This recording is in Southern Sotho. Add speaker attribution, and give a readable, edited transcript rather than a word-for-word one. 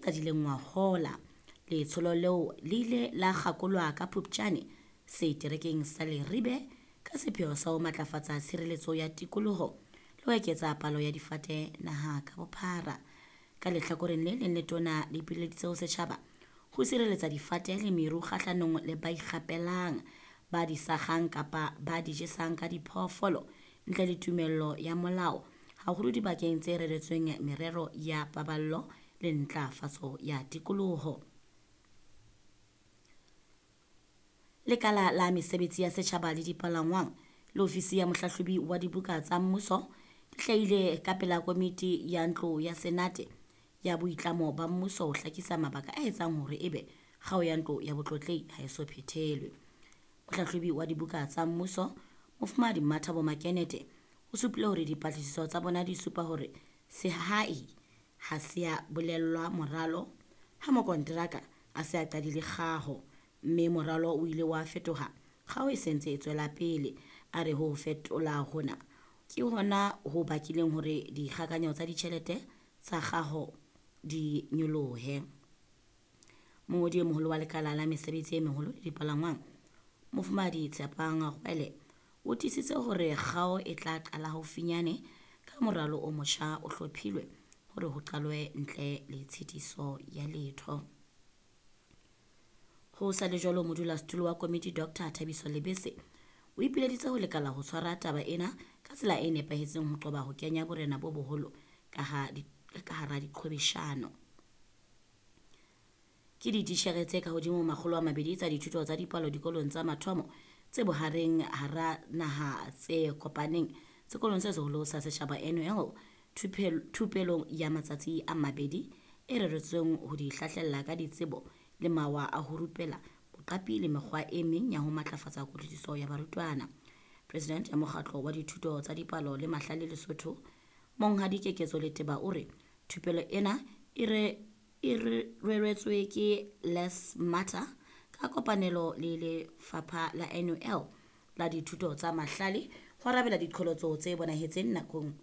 Speaker 1: qadileng ngwahola. Letsholo leo le ile la kgakolwa ka Phupjane seterekeng sa Leribe ka sepheo sa ho matlafatsa tshireletso ya tikoloho le ho eketsa palo ya difate naha ka bophara. Ka lehlakoreng le leng, letona le ipileditse ho setjhaba ho sireletsa difate le meru kgahlanong le ba ikgapelang, ba di sakgang kapa ba di jesang ka diphoofolo ntle le tumello ya molao, haholo dibakeng tse reretsweng merero ya paballo le ntlafatso ya tikoloho. Lekala la mesebetsi ya setjhaba le dipalangwang le ofisi ya mohlahlobi wa dibuka tsa mmuso di hlahile ka pela komiti ya ntlo ya Senate ya boitlamo ba mmuso ho hlakisa mabaka a etsang hore ebe kgao ya ntlo ya botlotlehi ha e so phethelwe. Mohlahlobi wa dibuka tsa mmuso, Mofumahadi Mmathabo Makenete, o supile hore dipatlisiso tsa bona di supa hore sehai ha se a bolellwa moralo ha mokonteraka a se a qadile kgaho, mme moralo o ile wa fetoha kgaho e se ntse e tswela pele. A re ho fetola hona ke hona ho bakileng hore dikgakanyo tsa ditjhelete tsa kgaho di nyolohe. Mongodi e moholo wa lekala la mesebetsi e meholo le dipalangwang, Mofumahadi Tshepang Kgwele, o tiisitse hore kgao e tla qala haufinyane ka moralo o motjha o hlophilwe hore ho qalwe ntle le tshitiso ya letho. Ho sa le jwalo, modulasetulo wa komiti Dr Thabiso Lebese o ipileditse ho lekala ho tshwara taba ena ka tsela e nepahetseng ho qoba ho kenya borena bo boholo ka hara diqhwebeshano. Ke dititjhere tse kahodimo ho 200 tsa dithuto tsa dipalo dikolong tsa mathomo tse bohareng hara naha tse kopaneng sekolong se seholo sa setjhaba NUL thupelong ya matsatsi a mabedi e reretsweng ho di hlahlella ka ditsebo le mawa a ho rupela, boqapi le mekgwa e meng ya ho matlafatsa kutlwisiso ya barutwana. President ya mokgatlo wa dithuto tsa dipalo le mahlale Lesotho, Monghadi Keketso Leteba, o re thupelo ena e reretswe ke Les Mata ka kopanelo le lefapha la NUL la dithuto tsa mahlale ho arabela diqholotso tse bonahetseng nakong